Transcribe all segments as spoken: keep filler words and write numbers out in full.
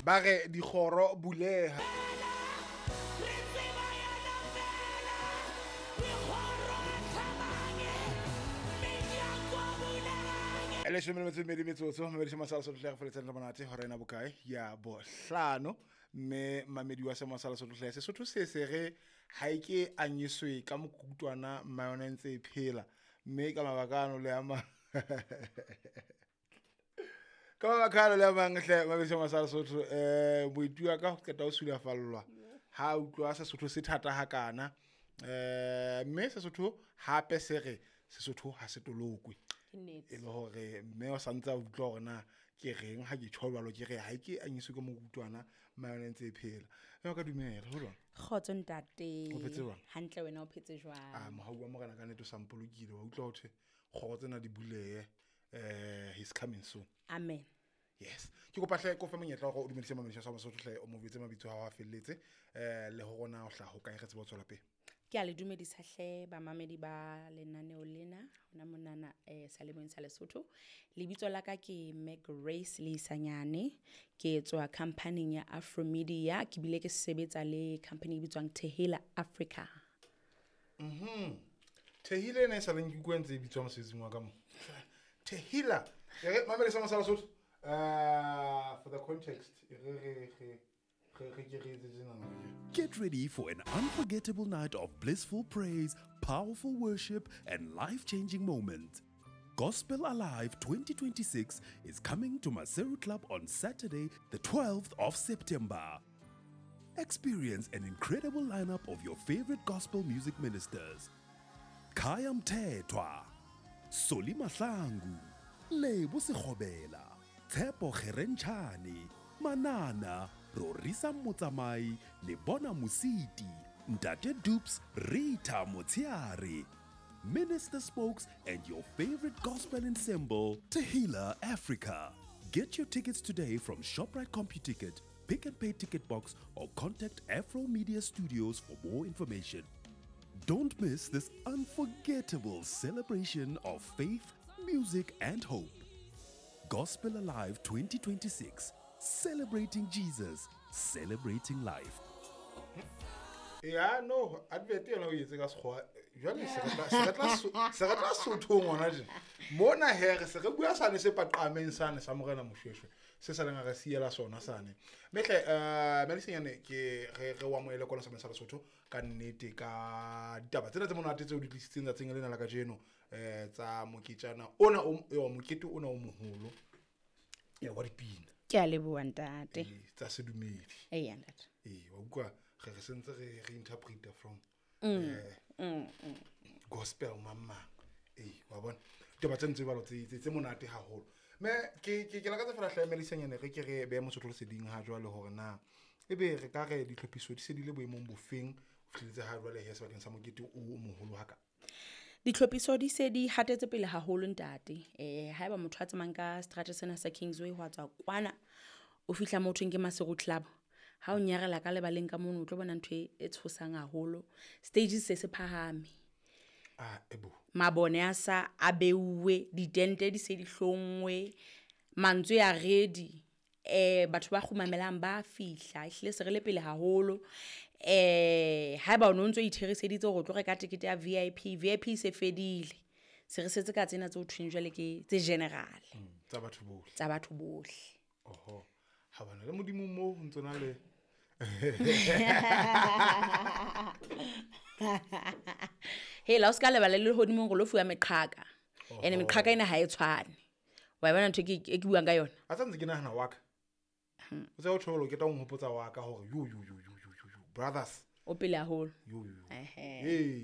Ba re dikgoro buleha. Leshome le metso e mmedi metsotso mamedi sa Lesotho hle re feletseng le monate hora ena bokae ya bohlano mme mamedi wa sema sa Lesotho hle Sesotho se se re ha e ke anyiswe ka mokutwana mma yona e ntse e phela mme ka mabaka ano le a mang ka mabaka ano le a mang hle mamedi sa Lesotho eh moeti wa ka ho qeta ho sulafallwa ha utlwa Sesotho se thata hakana eh mme Sesotho hape se re Sesotho ha se tolokwe. E le hore mme o santse a utlwa hore na ke reng ha ke tjho jwalo ke re ha ke anyiswe ke mokutwana mma yona e ntse e phela. Mme ka dumela ho jwang? Kgotso ntate. O phetse jwang? Hantle wena o phetse jwang? Ah mohau wa morena ka nnete o sampolokile wa utlwa hothe kgoro tsena di bulehe eh he's coming soon. Amen. Yes. Ke kopa hle ko fe monyetla hore o dumedise mamedi sa Lesotho hle o mo jwetse mabitso a hao a felletse eh le hore na o hlaha ho kae re tsebe ho tswela pele. Ke a le dumedisa hle bamamedi ba lenaneo lena hona monana eh Salemong sa Lesotho. Lebitso la ka ke Meg Grace Leisanyane, ke tswa company ya Afro Media, ke bile ke sebetsa le company e bitswang Tehila Africa. Mhm. Tehila ena e sa leng ke utlwa ntse e bitswa mosebetsing wa ka mo. Tehila. E re mamedi sa Lesotho uh for the context re re re Get ready for an unforgettable night of blissful praise, powerful worship, and life-changing moments. Gospel Alive twenty twenty-six is coming to Maseru Club on Saturday, the twelfth of September. Experience an incredible lineup of your favorite gospel music ministers. Khaya Mthethwa, Solly Mahlangu, Lebo Sekgobela, Tshepo Kgerentshane, Manana, Rorisa Motsamai, Lebona Musiti, Ntate Dupes, Rita Motiare, Minister Spokes, and your favorite gospel ensemble, Tehila Africa. Get your tickets today from ShopRite CompuTicket, Pick and Pay Ticket Box, or contact Afro Media Studios for more information. Don't miss this unforgettable celebration of faith, music, and hope. Gospel Alive twenty twenty-six. Celebrating Jesus, celebrating life. Yeah, no, advert yona o etse ka sekgowa. Jwale se re tla se re tla se re tla Sothong hona tje. Mona he re se re bua sane se paqameng sane sa morena Moshweshwe. Se sa leng re siela sona sane. Mehle eh Melisenyane ke re re wa moele kwana sa sa Lesotho ka nnete ka ditaba tsena tse monate tseo di tlisitseng tsatsing lena la kajeno eh tsa moketjana ona o mokete ona o moholo ya wa dipina. Ke a leboha ntate. Tsa sedumedi. Eya ntate. Eh wa utlwa re re sentse re re interpreta from mm, mm, mm. gospel mama. Eh wa bona. Ditaba tse ntse balo tse tse monate haholo. Me ke ke ke lakatsa fela hle Melisenyane re ke re be Mosotho leseding ha jwale hore na ebe re ka re ditlhophiso di se di le boemong bofeng ho fihletse ha jwale he sebakeng sa mokete o moholo haka. Ditlhophiso di se di hatetse pele haholo ntate. Eh haeba motho a tsamayang ka strata sena sa Kingsway ho tswa kwana o fihla mo thweng ke Maseru Club. Ha o nyarela ka lebaleng ka mono o tlo bona ntho e tshosang haholo. Stages se se phahame. Ah ebo. Mabone a sa a beuwe, ditente di se di hlongwe, mantswe a ready. Eh batho ba kgumamelang ba fihla, ehlile se re le pele haholo. Eh haeba o no ntso itheriseditse hore o tlo reka ticket ya V I P, V I P se fedile. Se re setse ka tsena tse o thweng jwale ke tse general. Tsa batho bohle. Tsa batho bohle. Oho. Ha bana le modimo mo ho ntsona le. Hey la o ska lebala le hodimo go lo fuwa meqhaka. Ene meqhaka ena ha e tshwane. Wa bona ntho ke ke buang ka yona. A tsantse ke nahana wa ka. O tse o tsholo ke tla o nhopotsa wa ka hore yo yo yo yo yo yo brothers. O pele haholo. Yo yo. Ehe. Eh.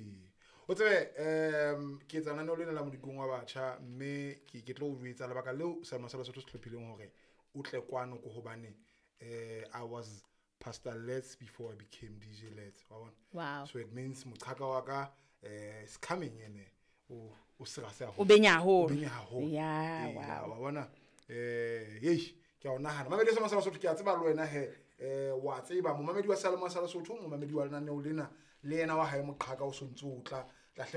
O tsebe em ke etsa lenaneo lena la modikong wa batjha mme ke ke tlo o jwetsa lebaka leo Selemo sa Lesotho se hlophileng hore o tle kwano ko hobane eh I was Pastor Let's before I became D J Let's. Wa bona? Wow. So it means moqhaka wa ka eh is coming ene o o sera se haholo. O benya haholo. O benya haholo. Yeah, wow. Wa bona eh hey ke a o nahana. Mamedi sa Lesotho ke a tseba le wena he eh wa tseba momamedi wa Selemo sa Lesotho momamedi wa lenaneo lena le yena wa hae moqhaka o sontse o tla tla hle